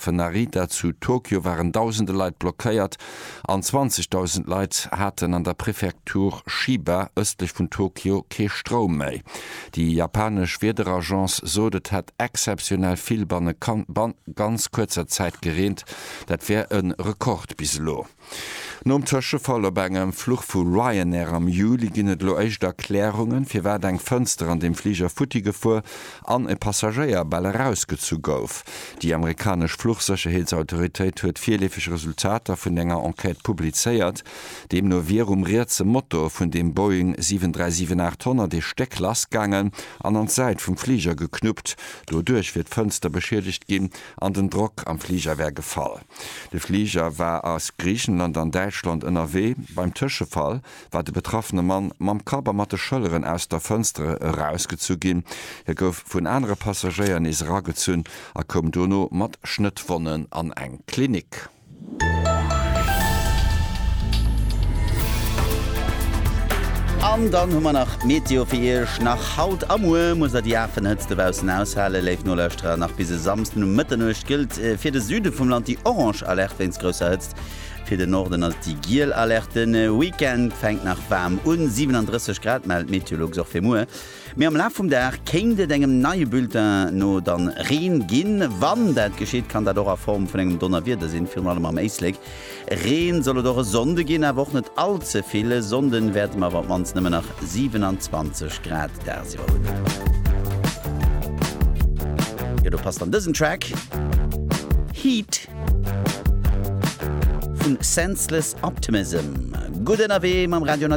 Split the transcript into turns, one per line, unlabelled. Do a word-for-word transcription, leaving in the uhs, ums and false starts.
Fluchhafen Narita zu Tokio waren dausende Leit blockéiert an zwanzegdausend Leit haten an der Prefektur Chiba ëstlech vun Tokio kee Stroum méi. Déi japanesch Wiederagence sot, et hätt exzeptionell vill banne ganz kuerzer Zäit gereent. Dat wär e Rekord bis elo. Nom Tëschefall op engem Fluch vu Ryanair am Juli ginn et elo éischt Erklärungen, firwat eng Fënster an dem Fliger futti gefuer an e Passagéier bal erausgezu gouf. Déi amerikanesch Fluchsécherheetsautoritéit huet virleefeg Resultater vun enger Enquête publizéiert. Deemno wier um rietse Motor vun dem Boeing siwen dräi siwen aacht honnert ee Stéck lassgaangen an an d'Säit vum Fliger geknuppt. Doduerch wier d'Fënster beschiedegt ginn an den Drock am Fliger wär gefall. De Fliger war aus Griichenland an Däitschland ënnerwee. Beim Tëschefall war de betraffene Mann mam Kapp a mat de Schëlleren aus der Fënster erausgezu ginn. Hie gouf vun anere Passagéier nees eragezunn a koum dono mat Schnëttwonnen an eng Klinik.
An dann hu mer nach d'Meteo fir Iech. Nach haut a muer musst der déi Afenhëtzt dobaussen aushalen, léif Nolauschterer. Nach bis e Samsden um Mëtternuecht gëllt fir de Süde vum Land déi orange Alerte wéinst grousser Hëtzt. Fir den Norden ass et déi giel Alerte. De Weekend fänkt nach waarm un, siwenandrësseg Grad mellt Meteolux och fir muer. Mee am Laf vum Dag kéint et engem neie Bulletin no dann Reen ginn. Wann dat geschitt, kann dat och a Form vun engem Donnerwieder sinn, virun allem am Éislek. Reen soll et och e Sonnde ginn, awer och net all ze vill. E Sonnden wäerte mer awer op d'mannst nëmmen nach siewenanzwanzeg Grad dagsiwwer hunn. Jo, do passt dann dësen Track Heat vun Senseless Optimism. Gutt ënnerwee mam Radio.